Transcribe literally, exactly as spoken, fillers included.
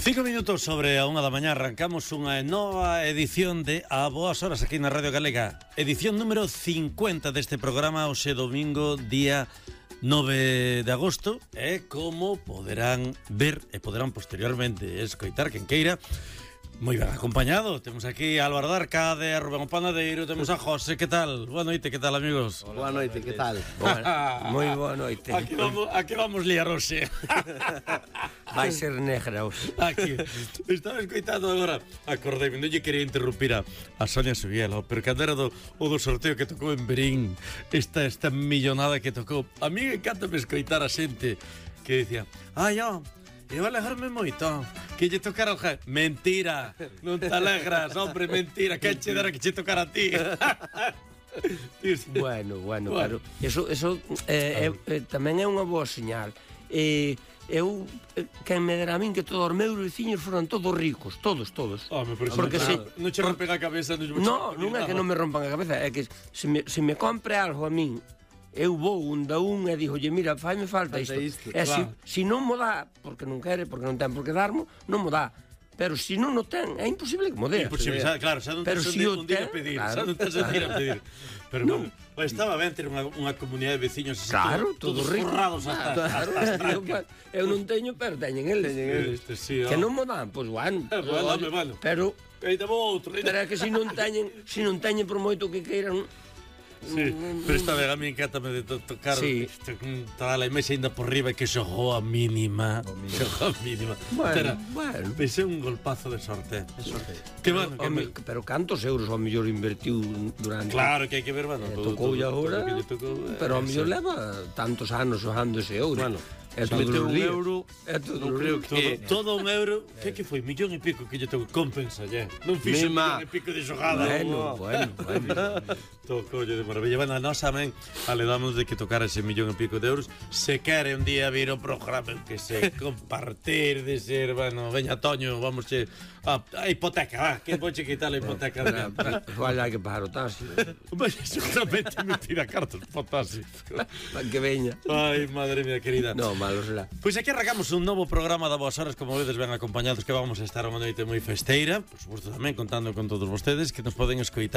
Cinco minutos sobre a unha da mañá arrancamos unha nova edición de A Boas Horas aquí na Radio Galega. Edición número cincuenta deste programa, hoxe domingo, día nove de agosto. E como poderán ver e poderán posteriormente escoitar quen queira, moi ben acompañado. Temos aquí a Álvaro Darca, de Rubén o Panadeiro, temos a José. Que tal? Boa noite, que tal, amigos? Boa noite, que tal? Boa, moi boa noite. Aquí vamos, aquí vamos liar hoxe. Vai ser negra hoxe. Aquí. Estaba escoitando agora, acordei-me, non lle quería interrumpir a, a Sonia Subiela, pero cando era do, o do sorteo que tocou en Berín, esta, esta millonada que tocou, a mí encanta me escoitar a xente que dicía, ai, ó, e vai alegrarme moito que lle tocara o je... Mentira, non te alegras, hombre, mentira, que che dera que che tocara a ti. Bueno, bueno, bueno, pero eso, eso eh, ah. eh, tamén é unha boa señal. Eh, eu, eh, quen me dera a min que todos os meus veciños foran todos ricos, todos, todos. Oh, porque se non che rompen a cabeza, non, non é que non me rompan a cabeza, é que se me, se me compre algo a min, eu vou un da un e digo, oye, mira, faime falta isto. isto. E claro. se, se non mo dá, porque non quere, porque non ten por que darmo, non mo dá. Pero se non o ten, é imposible que mo dé. Imposible, xa, claro, xa non tens si un día a pedir, claro. Xa non tens un día a pedir. Pero non. Bueno, pues estaba ben ter unha, unha comunidade de veciños así, claro, todos, todos forrados hasta, claro, hasta, hasta eu, eu non teño, pero teñen eles. Este, sí, que non mo dan, pois, pues, bueno. Bueno, dame, bueno. Pero, pero outro. Pero é que se non teñen, se non teñen por moito que queiran. Sí, pero esta vez a mí encátame de to tocar sí. Toda a mesa ainda por riba que xogou a mínima, xogou a mínima. Bueno, Tera, bueno. Pensei un golpazo de sorte. De sorte. Que bueno, que me... Pero cantos euros ao mellor invertiu durante... Claro que hai que ver, bueno, eh, tocou e agora, pero ao mellor leva tantos anos xogando ese euro. Bueno, é todo un euro, é todo non creo que todo, todo un euro, que que foi millón e pico que lle tocou, compensa lle. Non fixo millón e pico de xogada. Bueno, bueno, bueno. Tocoulle de maravilla. Bueno, a nós tamén aledamos de que tocara ese millón e pico de euros. Se quere un día vir o programa que se compartir de ser, bueno, veña Toño, vamos che a, a hipoteca, va, que voche quitar a hipoteca. Igual hai que pagar o taxi. Mas seguramente me tira cartas por taxi. Para que veña. Ai, madre mía querida. No, malo será. Pois aquí arrancamos un novo programa da Boas Horas, como vedes ben acompañados, que vamos a estar unha noite moi festeira, por suposto tamén contando con todos vostedes que nos poden escoitar